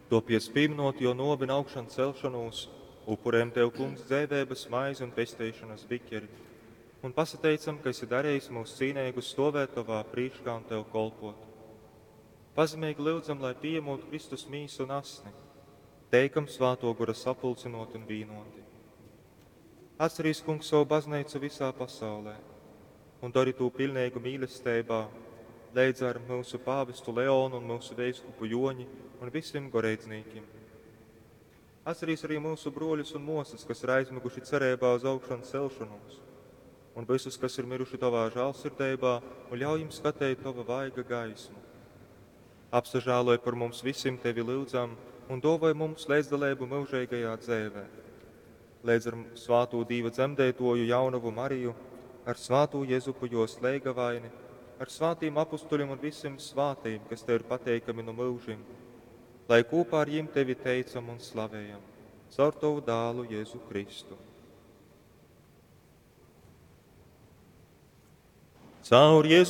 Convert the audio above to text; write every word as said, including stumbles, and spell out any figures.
Topiec pīminot jo nuovi un augšancelšonūs, upurējam Tev, Kungs, dzeiveibas maizi un pesteišonas biķeri, un pasateicam, ka esi darījis mūs cīneigus stovēt Tovā prīškā un Tev kolpot. Pazemīgi lyudzam, lai pieņemot Kristus mīsu un asni, teikam Svāto Gora sapulcinot un vīnoti. Atcerīs, Kungs, savu baznīcu visā pasaulē un dari tū pilnīgu mīlestībā, leidz ar mūsu pāvestu Leonu un mūsu veiskupu Joņi un visiem goreidznīkim. Atcerīs arī mūsu broļus un mosas, kas ir aizmiguši cerībā uz augšanu celšanos, un visus, kas ir miruši tavā žālsirdībā, un ļauj jums skatīt tava vaiga gaismu. Apsažāloj par mums visiem tevi lūdzam un dāvoj mums līdzdalību mūžīgajā dzīvē. Līdz ar svāto Dīva dzemdētoju jaunavu Mariju, ar svāto Jezupu jos leigavaini, ar svātīm apustuļiem un visiem svātīm, kas tev ir pateikami no mūžim, lai kopā ar jim tevi teicam un slavējam, caur tavu dālu Jēzu Kristu. Caur Jēzu